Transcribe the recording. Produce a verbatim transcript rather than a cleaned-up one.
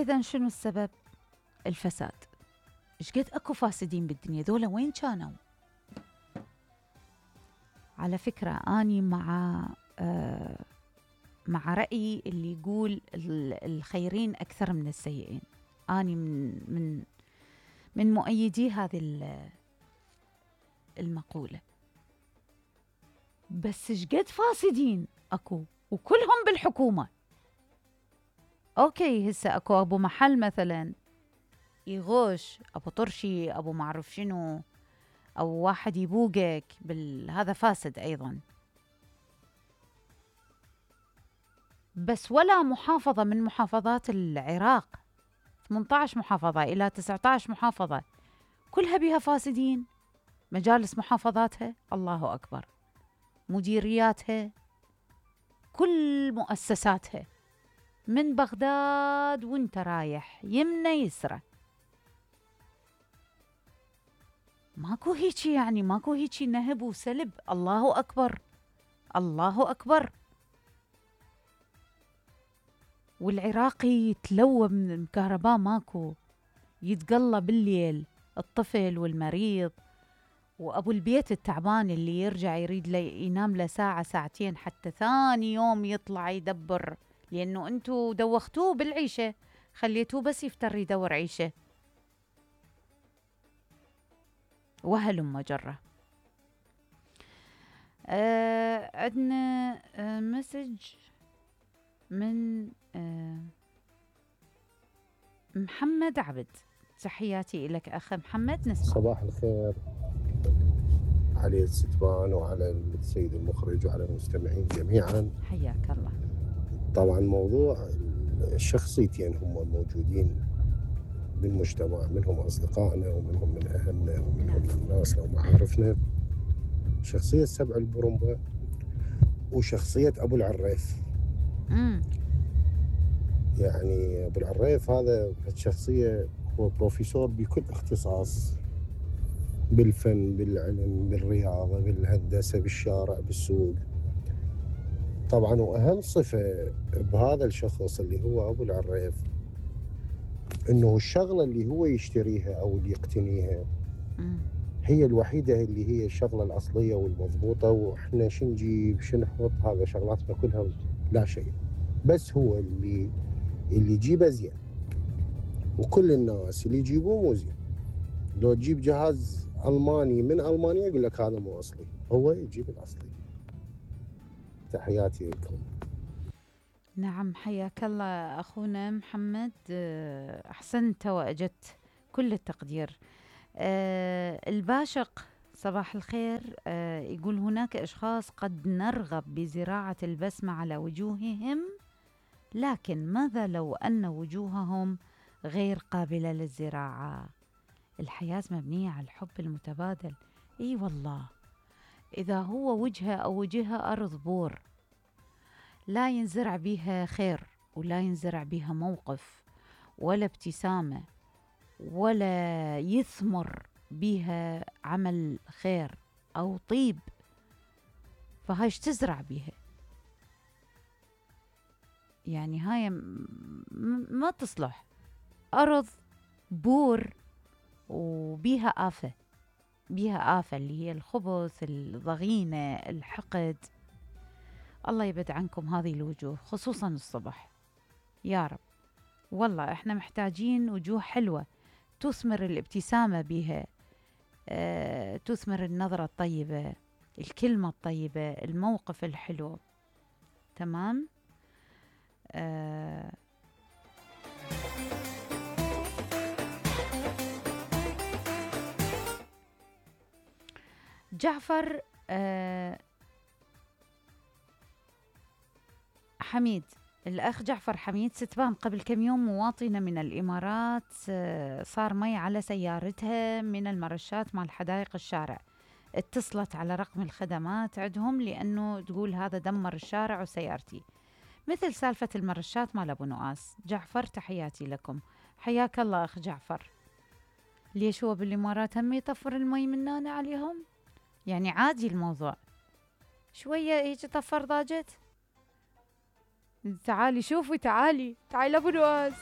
فإذا شنو السبب؟ الفساد. إيش قد أكو فاسدين بالدنيا، ذولا وين كانوا؟ على فكرة أني مع آه مع رأيي اللي يقول الخيرين أكثر من السيئين. أني من من من مؤيدي هذه المقولة. بس إيش قد فاسدين أكو وكلهم بالحكومة. أوكي هسه أكو أبو محل مثلا يغوش، أبو طرشي، أبو معرف شنو، أو واحد يبوقك بال... هذا فاسد أيضا. بس ولا محافظة من محافظات العراق، ثمانية عشر محافظة إلى تسعة عشر محافظة، كلها بها فاسدين. مجالس محافظاتها الله أكبر، مديرياتها، كل مؤسساتها من بغداد وانت رايح يمنى يسرى، ماكو هيجي يعني ماكو هيجي نهب وسلب. الله أكبر الله أكبر. والعراقي يتلوى من الكهرباء ماكو، يتقلى بالليل الطفل والمريض وأبو البيت التعبان اللي يرجع يريد لي ينام له ساعة ساعتين حتى ثاني يوم يطلع يدبر، لأنه أنتوا دوختوه بالعيشة، خليتوه بس يفتر يدور عيشة. وهلم مجرة. آه عندنا آه مسج من آه محمد عبد. تحياتي لك أخ محمد. نسمع. صباح الخير على الستبان وعلى السيد المخرج وعلى المستمعين جميعا، حياك الله. طبعا موضوع الشخصيتين هم موجودين بالمجتمع، منهم أصدقائنا ومنهم من أهلنا ومنهم من ناسنا ومعارفنا. شخصية سبع البرمبة وشخصية أبو العريف. مم. يعني أبو العريف هذا شخصية هو بروفيسور بكل اختصاص، بالفن، بالعلم، بالرياضة، بالهندسة، بالشارع، بالسوق. طبعا وأهم صفة بهذا الشخص اللي هو أبو العريف إنه الشغلة اللي هو يشتريها أو اللي يقتنيها هي الوحيدة اللي هي الشغلة الأصلية والمضبوطة، وإحنا شنجيب شنحط هذا شغلاتنا كلها لا شيء، بس هو اللي اللي يجيبه زين. وكل الناس اللي يجيبوه مو زين. لو تجيب جهاز ألماني من ألمانيا يقول لك هذا مو أصلي، هو يجيب الأصلي. تحياتي لكم. نعم حياك الله أخونا محمد، أحسنت وأجدت كل التقدير. أه الباشق صباح الخير. أه يقول هناك أشخاص قد نرغب بزراعة البسمة على وجوههم، لكن ماذا لو أن وجوههم غير قابلة للزراعة؟ الحياة مبنية على الحب المتبادل. اي والله، إذا هو وجهه أو وجهها أرض بور لا ينزرع بها خير ولا ينزرع بها موقف ولا ابتسامة ولا يثمر بها عمل خير أو طيب، فهايش تزرع بها؟ يعني هاي ما تصلح، أرض بور وبيها آفة، بيها آفة اللي هي الخبث، الضغينة، الحقد. الله يبعد عنكم هذه الوجوه خصوصا الصبح يا رب. والله احنا محتاجين وجوه حلوة تثمر الابتسامة بها، اه تثمر النظرة الطيبة، الكلمة الطيبة، الموقف الحلو. تمام. اه جعفر اه حميد، الأخ جعفر حميد ستبان قبل كم يوم مواطنة من الإمارات صار مي على سيارتها من المرشات مال حدائق الشارع، اتصلت على رقم الخدمات عندهم لأنه تقول هذا دمر الشارع وسيارتي، مثل سالفة المرشات مال أبو نواس. جعفر تحياتي لكم. حياك الله أخ جعفر. ليش هو بالإمارات هم يطفر المي من هنا عليهم؟ يعني عادي الموضوع، شوية هيك طفر ضاجت. تعالي شوفي، تعالي تعالي أبو نواس.